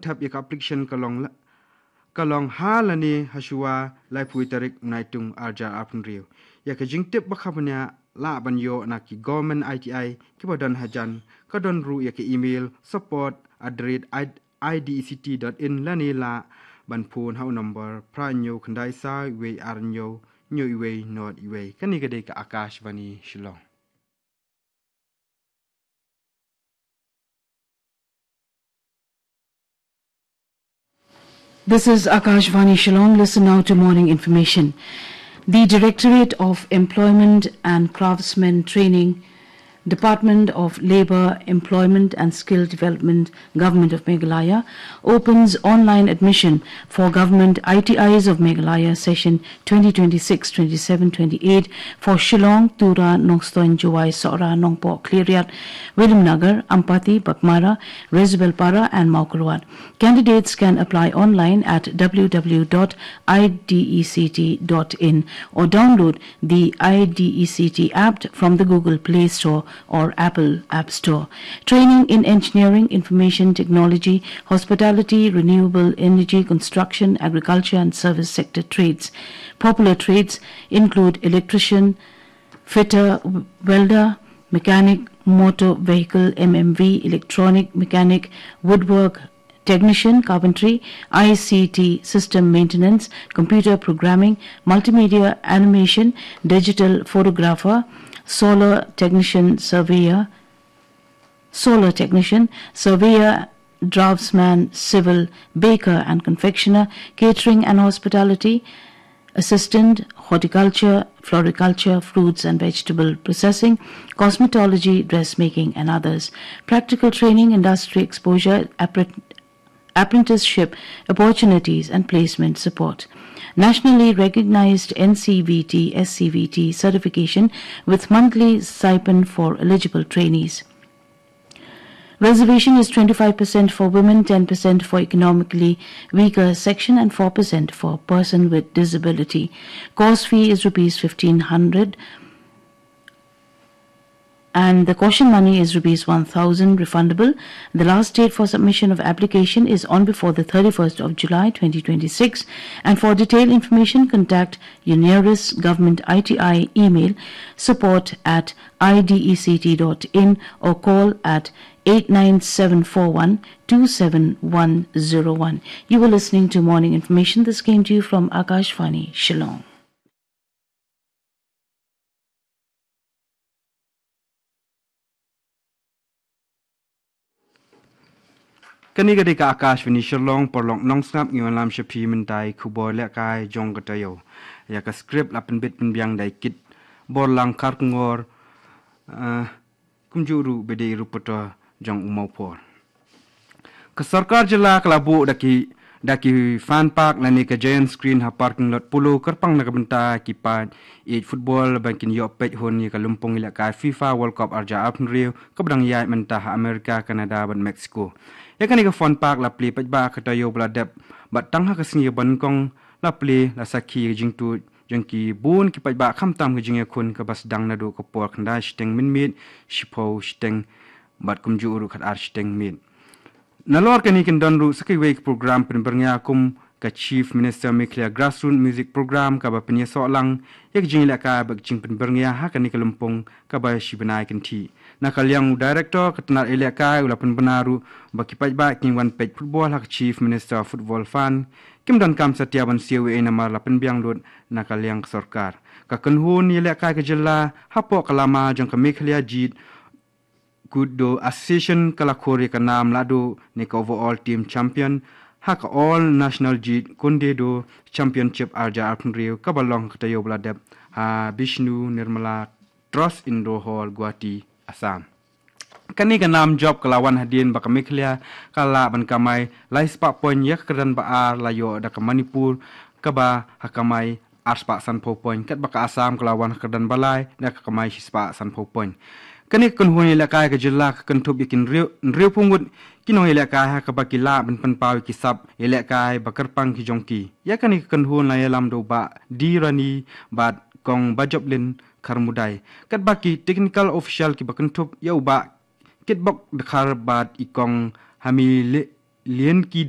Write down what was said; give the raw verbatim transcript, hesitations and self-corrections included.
thep ïa ka application ka long la, ka long ha lane ha shuwa laiphew tarik Naitung arhajar arphew hynriew. Ïa ka jingtip ba kham bniah lah ban ïoh na ki government I T I kiba don hajan, ka don ruh ïa ka email support at the rate I D E C T dot in lane lah ban phone ha u number phra hynñiew khyndai saw wei ar hynñiew hynñiew wei not wei. Kane ka dei ka Akashvani Shillong. This is Akashvani Shillong. Listen now to morning information. The Directorate of Employment and Craftsmen Training, Department of Labour, Employment and Skill Development, Government of Meghalaya, opens online admission for Government I T Is of Meghalaya session twenty twenty-six twenty-seven twenty-eight for Shillong, Tura, Nongstoiñ, Jowai, Sohra, Nongpoh, Khliehriat, Williamnagar, Ampati, Baghmara, Resubelpara and Mawkyrwat. Candidates can apply online at w w w dot i d e c t dot in or download the I D E C T app from the Google Play Store or Apple App Store. Training in engineering, information technology, hospitality, renewable energy, construction, agriculture and service sector trades. Popular trades include electrician, fitter, welder, mechanic, motor vehicle, M M V, electronic, mechanic, woodwork, technician, carpentry, I C T system maintenance, computer programming, multimedia animation, digital photographer, solar technician, surveyor, solar technician, surveyor, draftsman, civil, baker and confectioner, catering and hospitality, assistant, horticulture, floriculture, fruits and vegetable processing, cosmetology, dressmaking and others. Practical training, industry exposure, appre- apprenticeship opportunities and placement support. Nationally recognized N C V T, S C V T certification with monthly stipend for eligible trainees. Reservation is twenty-five percent for women, ten percent for economically weaker section and four percent for person with disability. Course fee is rupees fifteen hundred and the caution money is rupees one thousand refundable. The last date for submission of application is on before the thirty-first of July twenty twenty-six. And for detailed information, contact your nearest government I T I, email support at I D E C T dot in or call at eight nine seven four one two seven one zero one. You were listening to Morning Information. This came to you from Akashvani Shillong. Kane ka dei ka Akashvani Shillong, paralok nongsngap, ngi wan lam sha phi mynta ïa ki khubor lehkai jong ka taïew. Ïa ka script la pynbit pynbiang da i Kitborlang Kharkongor, eh, kumjuh ruh ba dei i reporter jong u Mawphor. Ka sorkar jylla ka la buh da ki, da ki fun park lane ka giant screen ha parking lot Polo kyrpang na ka bynta ki paid ïeit football ban kin ïoh peit hun ïa ka lympung ïalehkai FIFA World Cup arhajar arphew hynriew kaba dang ïaid mynta ha America, Canada bad Mexico. Ïa kane ka fun park la plie paidbah ha ka taïew ba la dep bad tang ha ka sngi kaba nyngkong la plie la sakhi ïa ka jingtuid jong ki bun ki paidbah, khamtam ka jingïakhun kaba sdang naduh ka por khyndai shiteng mynmiet, shiphew shiteng bad kumjuh ruh khatar shiteng miet. Nalor kane kin don ruh sa kawei ka program pynbyrngia kum ka Chief Minister Meghalaya Grassroots Music Program kaba pynïasoh lang ïa ka jingïalehkai bad ka jingpynbyrngia ha kane ka lympung kaba shi bnai kynthih. Na ka liang u Director ka tnad ïalehkai u la pynbna ruh ba ki paidbah kin wan peit football ha ka Chief Minister Football Fund. Kim donkam satia ban siew ei ei namar la pynbiang lut na ka liang ka sorkar. Ka kynhun ïalehkai ka jylla hapoh ka lama jong ka Meghalaya Jeet Kune Do Association ka la khur ïa ka nam lahduh ne ka overall team champion ha ka All National Jeet Kune Do Championship arhajar arphew hynriew kaba long ha ka taïew ba la dep ha Bishnu Nirmala Trust Indoor Hall, Guwahati, Assam. Kane ka nam jop ka la wan hadien ba ka Meghalaya ka lah ban kamai lai spah point ïa ka kyrdan ba ar la ïoh da ka Manipur kaba ha kamai ar spah sanphew point, katba ka Assam ka la wan ha kyrdan ba lai da ka kamai shi spah sanphew point. Kane ka kynhun ïalehkai ka jylla ka kynthup ïa ki hynriew, hynriewphew ngut ki nongïalehkai ha kaba ki lah ban pynpaw ïa ki sap ïalehkai ba kyrpang ki jong ki. Ïa kane ka kynhun la ïalam da u Bah D Rani bad Kong Bajoplin Kharmudai. Katba ki technical official kiba kynthup ïa u Bah Kitbok Dkhar bad i Kong Hamile lian ki da